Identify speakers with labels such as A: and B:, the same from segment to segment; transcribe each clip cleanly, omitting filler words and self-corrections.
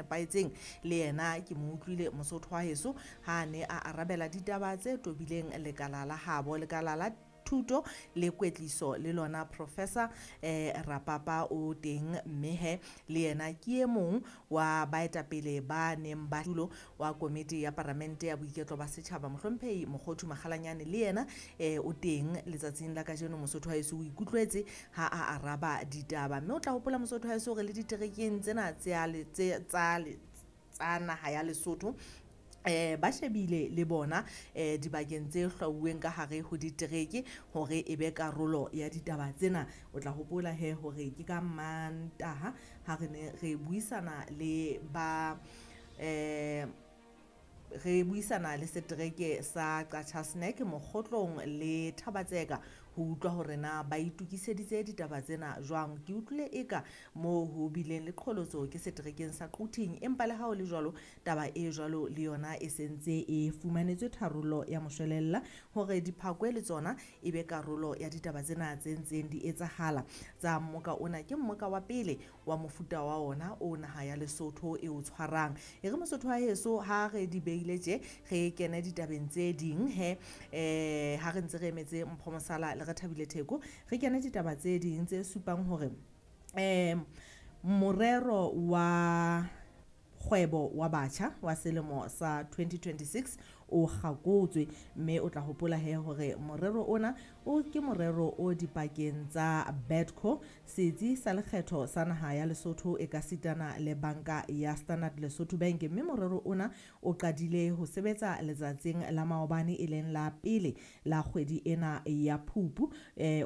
A: nepahetseng. Le yena ke mo utlwile Mosotho wa heso ha ne a arabela ditaba tse tobileng lekala la habo, lekala la thuto le kwetliso. Le lona Professor Rapapa o teng, mme he le yena ke e mong wa baetapele ba neng ba tulo wa komiti ya paramente ya boiketlo ba setjhaba, Mohlomphehi Mokgothu Makgalanyane, le yena o teng letsatsing la kajeno. Mosotho wa heso o ikutlwetse ha a araba ditaba, mme o tla hopola, Mosotho wa heso, hore le diterekeng tsena tsa naha ya Lesotho ba shebile le bona dibakeng tse hlwauweng ka hare ho ditereke hore e be karolo ya ditaba tsena. O tla hopola he hore ke ka Mantaha ha re ne re buisana le ba re buisana le setereke sa Qacha's Nek, Mokgotlong le Thabatseka, ho utlwa hore na ba itokiseditse ditaba tsena jwang. Ke utlwile eka moo ho bileng le qholotso ke seterekeng sa Quthing, empa le ha ho le jwalo, taba e jwalo le yona e sentse e fumanetswe tharollo ya moshwelella hore diphakwe le tsona e be karolo ya ditaba tsena tse ntseng di etsahala tsa mmoka ona. Ke mmoka wa pele wa mofuta wa ona o naha ya Lesotho e o tshwarang. E re, Mosotho wa heso, ha re di beile tje, re kene ditabeng tse ding he. Ha re ntse re emetse Mpho Mosala le re Thabile Theko, re kene ditaba tse ding tse supang hore morero wa kgwebo wa batjha wa selemo sa 2026 o kgakotswe. Mme o tla hopola he hore morero ona o ke morero o dipakeng tsa Bedco, setsi sa lekgetho sa naha ya Lesotho, e ka sitana le banka ya Standard Lesotho Bank. Mme morero ona o qadile ho sebetsa letsatsing la maobane, e leng la pele la kgwedi ena ya Phupu.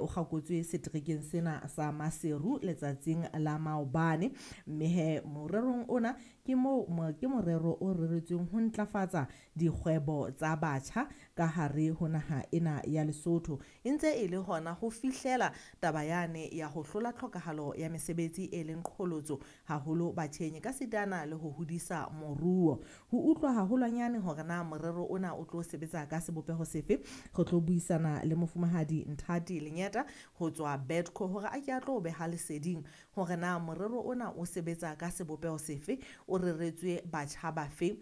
A: O kgakotswe seterekeng sena sa Maseru letsatsing la maobane. Mme he morerong ona ke moo ke morero o reretsweng ho ntlafatsa dikgwebo tsa batjha ka hare ho naha ena ya Lesotho, e ntse e le hona ho fihlela taba yane ya ho hlola tlhokahalo ya mesebetsi e leng qholotso haholo batjheng, ka sitana le ho hodisa moruo. Ho utlwa haholwanyane hore na morero ona o tlo sebetsa ka sebopeho sefe, re tlo buisana le mofumahadi Nthati Lenyeta ho tswa Bedco hore a ke a tlo beha leseding hore na morero ona o sebetsa ka sebopeho sefe, o reretswe batjha bafe,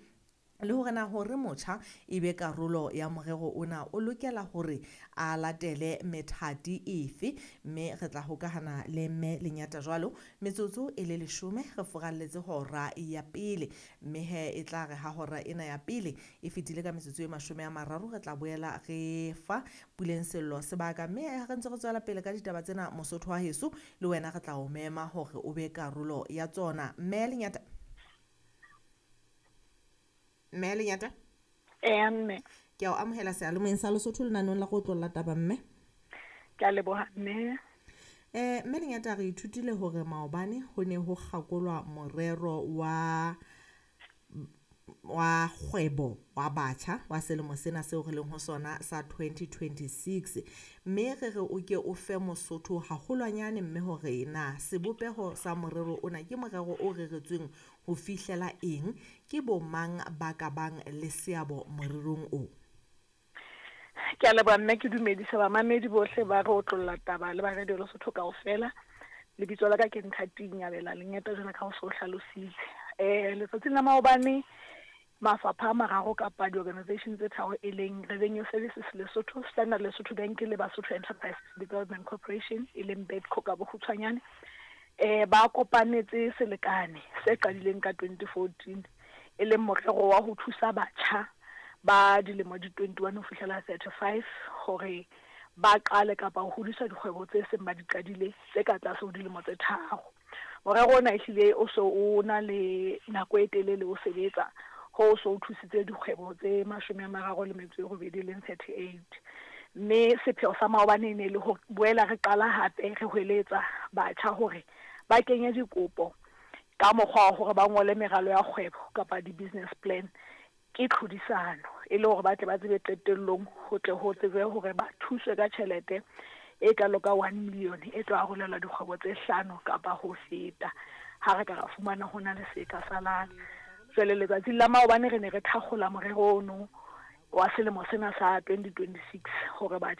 A: le hore na hore motjha e be karolo ya morero ona o lokela hore a latele methati efe. Mme re tla hokahana le mme Lenyata jwalo metsotso e le 10 re furalletse hora ya pele. Mme he e tla re ha hora ena ya pele e fetile ka metsotso e 30, re tla boela re fa Puleng Sello sebaka. Mme ha re ntse re tswela pele ka ditaba tsena, Mosotho wa heso, le wena re tla o mema hore o be karolo ya tsona. Mme Lenyata, mme Lenyata.
B: Eya, mme.
A: Ke a o amohela seyalemoyeng sa Lesotho lenaneong la go otlolla taba, mme.
B: Ke a leboha, mme.
A: Mme Lenyata, re ithutile hore maobane ho ne ho kgakolwa morero wa kgwebo wa batjha wa selemo sena seo re leng ho sona sa 2026. Mme re re o ke o fe Mosotho haholwanyane, mme, hore na sebopeho sa morero ona ke morero o reretsweng ho fihlela eng, ke bo mang ba ka bang le seabo morerong o?
B: Ke a leboha, mme. Ke dumedisa bamamedi bohle ba re otlolla taba le ba Radio Lesotho kaofela. Lebitso la ka ke Nthati Nyabela Lengeta, jwalo ka ho so hlalositse. Letsatsing la maobane, mafapha a mararo kapa di-organization tse tharo, e leng Revenue Services Lesotho, Standard Lesotho Bank le Basotho Enterprise Development Corporation, e leng Bedco ka bokgutshwanyane, ba kopanetse selekane se qadileng ka 2014, e leng morero wa ho thusa batjha ba dilemo di 21 ho fihlela 35 hore ba qale kapa ho hodisa dikgwebo tse seng ba di qadile tse ka tlase ho dilemo tse 3. Morero ona ehlile o so o na le nako e telele o sebetsa, ho so o thusitse dikgwebo tse 38, leng 38. Mme sepheo sa maobane e ne le ho boela re qala hape re hweletsa batjha hore ba kenye dikopo ka mokgwa wa hore ba ngole meralo ya kgwebo kapa di-business plan. Ke tlhodisano e le hore ba tle ba tsebe qetellong ho tle ho tsebe hore ba thuswe ka tjhelete e kalo ka 1 million e tlo arolelwa dikgwebo tse hlano kapa ho feta, ha re ka ra fumana ho na le se ka salang. Jwale letsatsing la maobane re ne re thakgola morero ono wa selemo sena sa 2026 hore batjha